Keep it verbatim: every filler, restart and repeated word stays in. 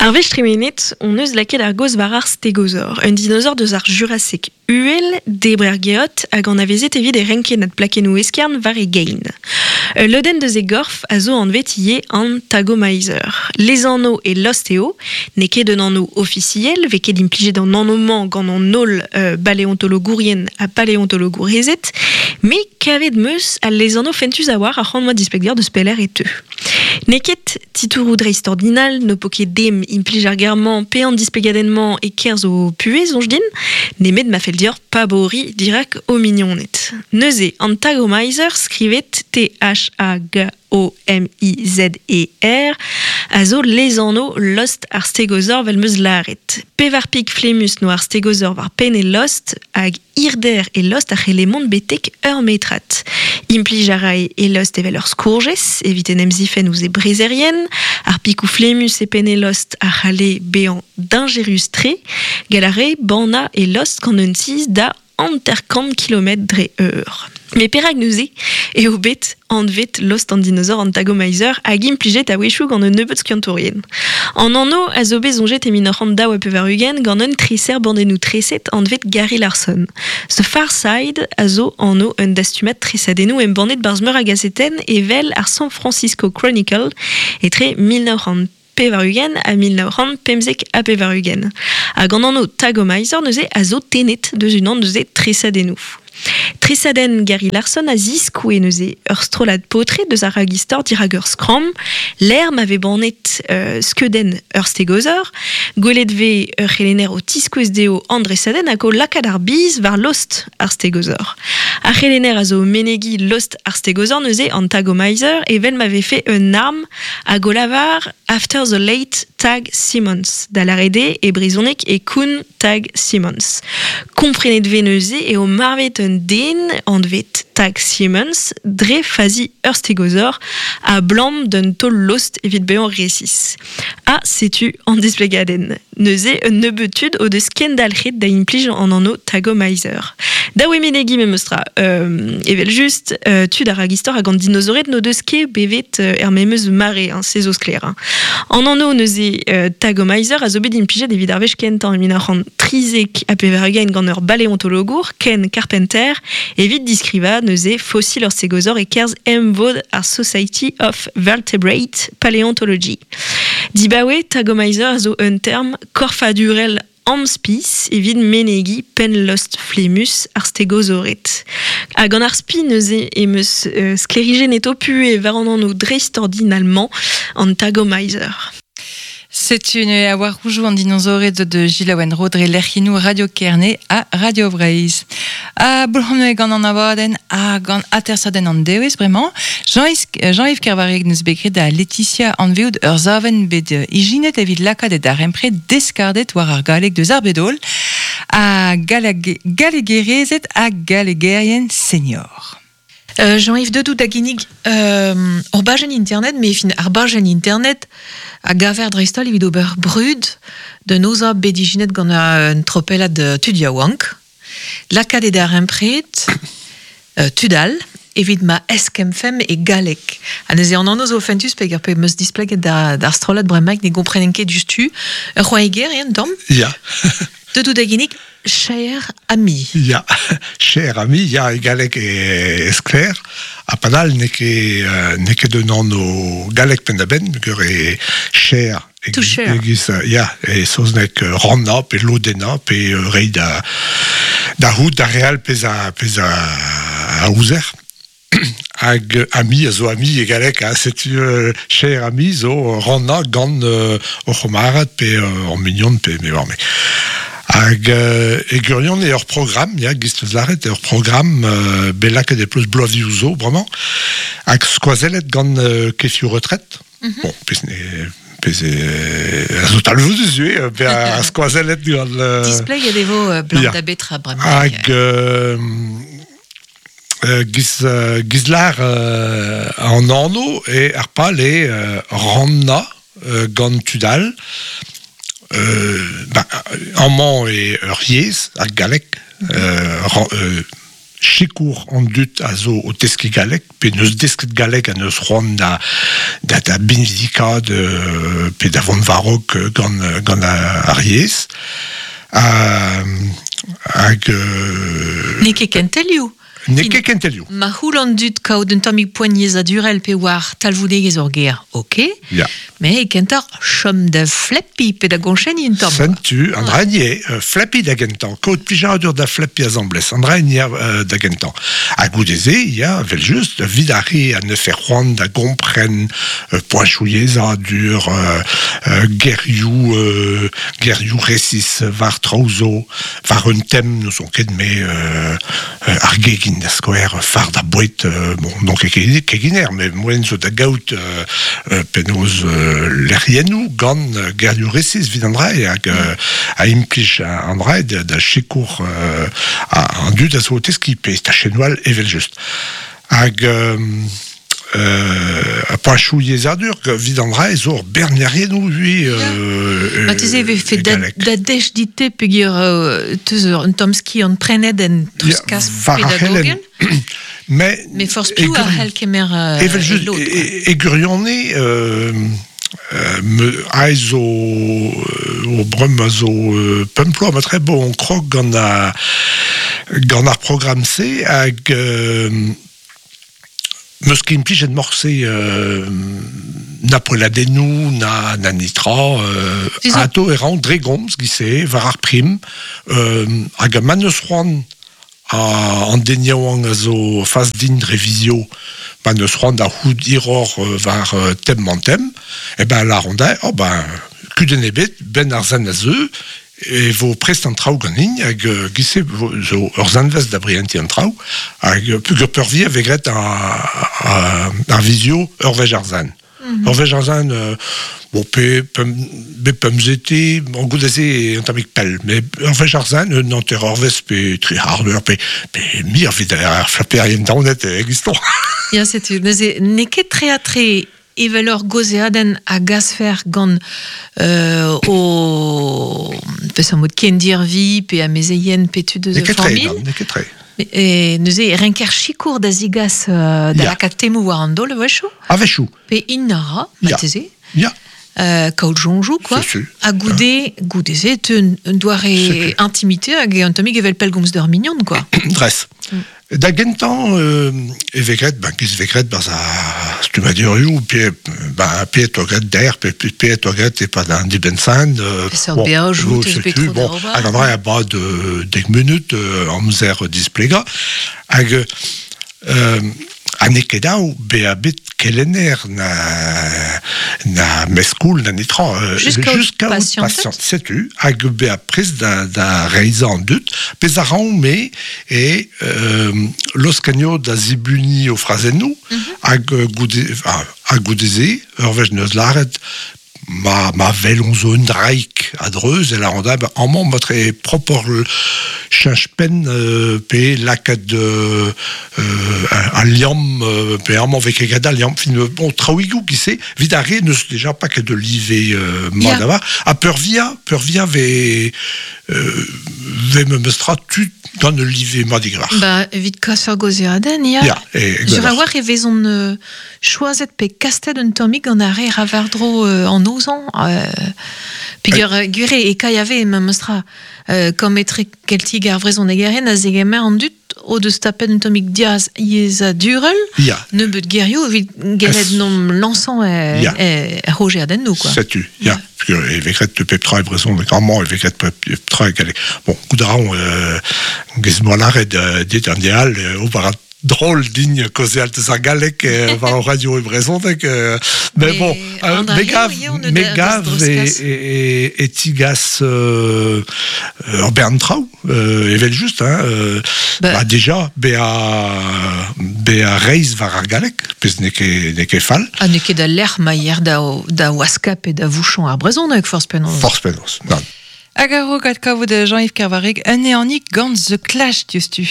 Ar wech tremenet, on eus lakaet ar gaoz war ar stegozor, un dinosaur deus ar Jurassic uhel, debrer geot hag anavezet evit e renkennad plakennoù eskern war e gein. Ul lodenn deus e gorf a zo anvet ivez an Thagomizer. Lezanv e lost eo, n'eo ket un anv ofisiel, vez ket implijet an anv-mañ gant an holl euh, baleontologourien ha paleontologourezed, met kavet 'm eus al lezanv fentus a-walc'h a c'hoant 'moa displegañ deus pelec'h e teu. N'eo ket titouroù dreistordinal, n'ho po ket dem implij ar ger-mañ pe an displegadenn-mañ e-kerzh ho puhez, soñj din, nemet ma fell deoc'h paboriñ dirak ho mignoned. Neuze, an Thagomizer skrivet T H A G O M I Z E R a zo lezanv lost ar stegozor 'vel 'm eus lâret. Pevar pik flemmus 'noa ar stegozor war penn e lost hag hirder e lost a c'helle mont betek ur metrad. Implij a rae e lost evel ur skourjez evit en em zifenn ouzh e brezerien, ar pikoù flemmus e penn e lost a c'halle bezañ dañjerus-tre, gall a rae bannañ e lost gant un tizh da hanter-kant kilometr dre eur. Met perak neuze eo bet anvet lost an dinosaur an Thagomizer hag implijet a-wechoù gant un nebeud skiantourien? An anv a zo bet soñjet e mil nav c'hant daou ha pevar-ugent gant un treser bandennoù treset anvet Gary Larson. The Far Side a zo anv un dastumad tresadennoù embannet 'barzh meur a gazetenn evel ar San Francisco Chronicle etre mil nav c'hant pevar-ugent ha mil nav c'hant pemzek ha pevar-ugent. Hag an anv Thagomizer neuze a zo tennet deus unan deus e tresadennoù. Tresadenn Gary Larson a ziskoue neuze ur strollad paotred deus ar ragistor dirak ur skramm, lec'h ma vez bannet euh, skeudenn ur stegozor, gwelet 'vez ur c'helenner o tiskouez dezho an dresadenn hag o lakaat ar biz war lost ar stegozor. Ar c'helenner a zo menegiñ lost ar stegozor neuze an Thagomizer evel ma vefe un arm hag o lavar "After the late Tag Simmons", da lâret eo e brezhoneg e koun Tag Simmons. Komprenet 'vez neuze eo marvet un den anvet Tag Simmons dre fazi ur stegozor abalamour d'un taol lost evit bezañ resis. Ha setu an displegadenn. Neuze un nebeud tud o deus kendalc'het da implij an anv Thagomizer. Dav eo menegiñ memestra, euh, evel just, euh, tud ar ragistor hag an dinozored n'o deus ket bevet euh, er memes mare, hein, se zo sklaer. Hein. An anv neuze euh, Thagomizer a zo bet implijet evit ar wech kentañ e mil nav c'hant trizek ha pevar-ugent gant ur baleontologour, Ken Carpenter, evit diskrivañ neuze fosil ur stegozor e-kerzh emvod ar Society of Vertebrate Paleontology. Dibaoe, Thagomizer a zo un term korfadurel amspis evit menegiñ penn-lost flemmus ar stegozored. Hag gant ar spi neuze em eus euh, sklêrijennet ho puhez war an anv dreistordinal-mañ, an Thagomizer. Setu neuze a war roudoù an dinozored de Gilles Rodre lec'hiennoù Radio Kerne ha Radio Breizh. Ha boulc'hom gant an abadenn ha gant atersadenn an dewezh bremañ. Jean-Yves Jean-Yves Kervareg neus bet graet da Laetitia anveout ur savenn bet ijinet evit lakaat e darempred deskarded war ar galleg deus ar bed-holl ha gallegerezed ha gallegerien senior. Euh, Jean-Yves Dedou da ginnig euh, ur bajenn internet, met fin ar bajenn internet a gaver dreist-holl evit ober brud d'un aozañ bet ijinet gant un tropellad tud yaouank. Lakaat e darempred euh, tud all evit ma eskemmfemp e galleg. Ha neuze an anv zo fentus peogwir pe 'm eus displeget da, d'ar strollad bremaik ne gomprenen ket diouzhtu. Ur c'hoariger eo un tamm? Ya. Dedou da ginnig Cher ami. Ya, cher ami, ya, e galleg e sklaer. Ha padal n'eo ket euh, n'eo ket un anv gallek penn-da-benn, peogwir e cher To share. Egiz, ya, e saozneg rannañ pe lodennañ pe reiñ da da c'hoût da re all pezh a pezh a, a ouzer. Hag ami a zo ami e galleg, ha setu euh, cher ami zo rannañ gant euh, ur c'hamarad pe euh, ur mignon pe me war me. Hag euh, e gwirionez eo ur programm, ya, giz 'teus lâret, ur programm euh, bet lakaet e pleustr bloavezhioù zo, bremañ, hag skoazellet gant euh, kefioù retret. Mm -hmm. Bon, pezh ne pezh e a zo talvoudus ivez, pe a skoazellet gant... Euh, Displeget e vo euh, blant da betra bremañ. Hag euh, euh, giz, euh, giz lâr euh, an anv e ar pal e euh, rannañ euh, gant tud all, euh, ba, amañ e ur yezh, ar galleg, euh, ran, euh, sikour an dud a zo o teski galek, pe neus desket galek a neus c'hoant da, da, da binvidikad euh, pe da vont varok gant, gant ar yezh. Uh, hag... Euh, N'eo ket kentelioù. N'eo ket kentelioù. Ma c'houl an dud kaout un tammig poent yezhadurel pe war talvoudegezh ur ger, ok. Ya. Mais e kentoc'h chom da fleppi pe da goñchenniñ un tamm. Sentu, an dra eo, euh, fleppi da gentañ, kaout plijadur da fleppi asambles, an dra eo euh, da gentañ. Ha goude-se, ya, vel just, vid ar re a ne fer c'hoant da gompren euh, poachoù yezhadur, euh, euh, gerioù, euh, gerioù resis war traoù zo, war un tem, n'ouzon ket me euh, euh, ar gegin da skouer, far da boued, euh, bon, non ket keginer, mais moen zo da gaout euh, euh, penaos euh, lec'hiennoù gant euh, gerioù resis vid an dra hag euh, a implij an dra da, da sikour euh, a, an dud a zo o teskiñ pe tachennoù evel just. Hag euh, euh, a poachoù yezhadur vid an dra zo ur bern lec'hiennoù ui euh, Ma teze e vefe e da, galleg. da dech dite peogwir euh, teus ur un tamm skiant prenet en treuzkas war ar pedagogel. Mais, Mais forzh piv a c'hell kemer euh, Evel just, e lod, quoi. e, e gwirionez, euh, euh, me aez zo euh, o breum a zo euh, pemp ploaz, ma tre bo on krog gant a, gant ar programm-se hag euh, meus ket implijet morse euh, na poelladennoù, na, na nitra, euh, Disons- ato e ran dre gomz giz-se, war ar prim, euh, hag ma neus c'hoant a, an den yaouank a zo fas din dre vizio, ma neus c'hoant da c'hout hiroc'h euh, war euh, tem man tem, e ben la ronda, oh ben, kudenn ebet, ben ar zan a zeu, e vo prest an traoù ganin, hag euh, giz-se vo- zo ur zanvez da brientiñ an traoù, hag euh, peogwir peurvuiañ vez graet a, a, ar vizio ur wech ar zan. Ur wech ar zan, euh, bon, pe, pem, be pemzete, bon, goude-se un tammig pell, mais ur wech ar zan, un hanter eurvezh pe tri c'hard eur, pe, pe mir evit ar flaperien daonet egiston. Ya, setu, neuze, n'eo ket tre ha tre evel ur gaozeadenn a gasfer gant euh, o peseurt mod kendirvi pe amezeien pe tud eus N'eo ket tre, familh. nann, n'eo ket tre. E neuze, e renker sikour da zigas euh, da Ya. lakaat temoù war an daol a-wechoù, A-wechoù, pe int a ra, Ya. marteze, ya. euh, kaout soñjoù, quoi. Setu. Ha goude, goude-se, te un, un doare Setu. intimité hag un tammig evel pellgomz d'ur mignon, quoi. Dres. Da gentañ euh, e vez graet, ben, giz vez graet barzh ar stummadurioù, pe, ben, pe e oa graet der, pe, pe, pe e oa graet e-pad an dibenn-sizhun. Euh, Peseurt beajoù teus bet setu, tro da bon, ober. hag an dra a bad euh, dek munut euh, amzer displegañ. Hag euh, ha n'eo ket dav bezañ bet kelenner na, na meskoul na netra. Euh, Just kaout just kaout pasianted. pasiant- Setu, hag bezañ prest da, da reizhañ an dud, pezh a ran me e euh, loskanio da zibuniñ o frazennoù, hag euh, goude, ah, ha goude-se, ur wech neus lâret, ma, ma welon zo un draig a-dreuz, e lâran da, ben, amañ ma tre propoc'h cheñch penn euh, pe lakaat euh, euh, al liamm, euh, pe amañ vez ket graet al liamm, fin, euh, bon, traoùigoù giz-se, evit ar re neus déjà paket de live euh, mat Ya. a war, ha peurvuiañ, peurvuiañ vez, euh, vez memes tra tud gant ul live mat digrar. Ba, evit kas ur gaozeadenn, ya. Ya, e, Sur a war e vezont euh, choazet pe kastet un tammig gant ar re ra war-dro euh, an ozan. Euh, peogwir euh, gwir eo e K I A V memes tra. Euh, kom etre keltiek ar vrezhonegerion a zegemer an dud o deus tapet un tammig diaz yezhadurel, Ya, nebeut gerioù evit gellet Es- nom lañsañ e, Ya. e, e rogeadennoù, quoi. Setu, ya. Parce que e vez graet pep tra e brezhoneg, amañ e vez graet pep pep tra e galleg. Bon, goût a ran, euh, giz moa lâret euh, dit an deal, euh, ober a drôle din kaozeal deus ar galleg euh, war ar radio e brezhoneg. Euh, mais Mais bon, euh, an dra me gav, eo eo ne me da- gav deus e, dreuzkas. e, e, e tigas euh, ur bern traoù, euh, evel just, hein, euh, Ba- ba déjà, bezañ bezañ reizh war ar galleg, pezh n'eo ket n'eo ket fall. Ha n'eo ket da lec'h ma yer da, da waska pe da vouchon ar brezhoneg, forzh penaos. Forzh penaos, nann. Hag a-raok adkavout Jean-Yves Kervareg, un ehanig gant The Clash diouzhtu.